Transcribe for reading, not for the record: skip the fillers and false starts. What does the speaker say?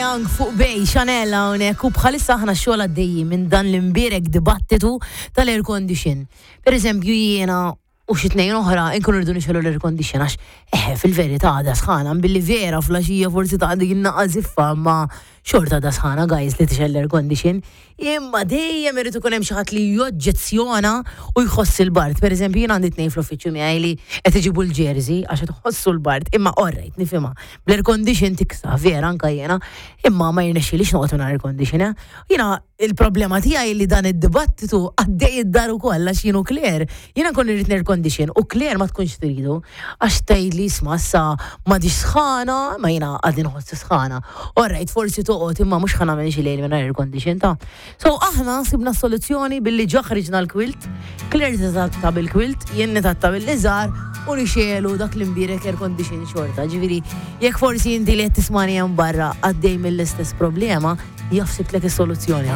Young fuq Bay Chanel hawnhekk u bħalissa aħna xogħol għaddejjin minn dan l-imbierek dibattitu tal-air condition. Per eżempju jiena u xi tnejn oħra nkunu rridu nixgħelu l-air condition għax eħe fil-verità għadha sħana billi vera flaxija forsi ta' dik in-naqa ziffa ma xorta għadha sħana guys li tixgħel l-air condition. Imma dejjem irid ikun hemm xi ħadd li joġġezzjona u jħoss il-bard. Pereżempju jien għandi tnejn fl-uffiċċju miegħi li qed iġibu l-jersey għax qed iħossu l-bard. Imma orrejt nifhimha. Bl-air condition tiksa, vera anka jiena, imma ma jirnexxilix noqgħod mingħajr air condition. Eh? Jiena il-problema tiegħi li dan id-dibattitu għaddej id-dar ukoll għax jien u Claire, jiena nkun irrid air condition u Claire ma tkunx tridu għax tgħidli isma' issa m'għadix sħana, ma jiena għadni nħoss sħana. Alright, forsi toqgħod imma mhux ħa nagħmel xi lejl mingħajr air condition ta'. So aħna sibna soluzzjoni billi ġa ħriġna l-kwilt, Claire titatta bil-kwilt, jien nitatta bil-liżar u nixelu dak l-imbierek air condition xorta. Ġifieri, jekk forsi inti li qed tismani hemm barra għaddej mill-istess problema, jaf sibtlek is-soluzzjoni.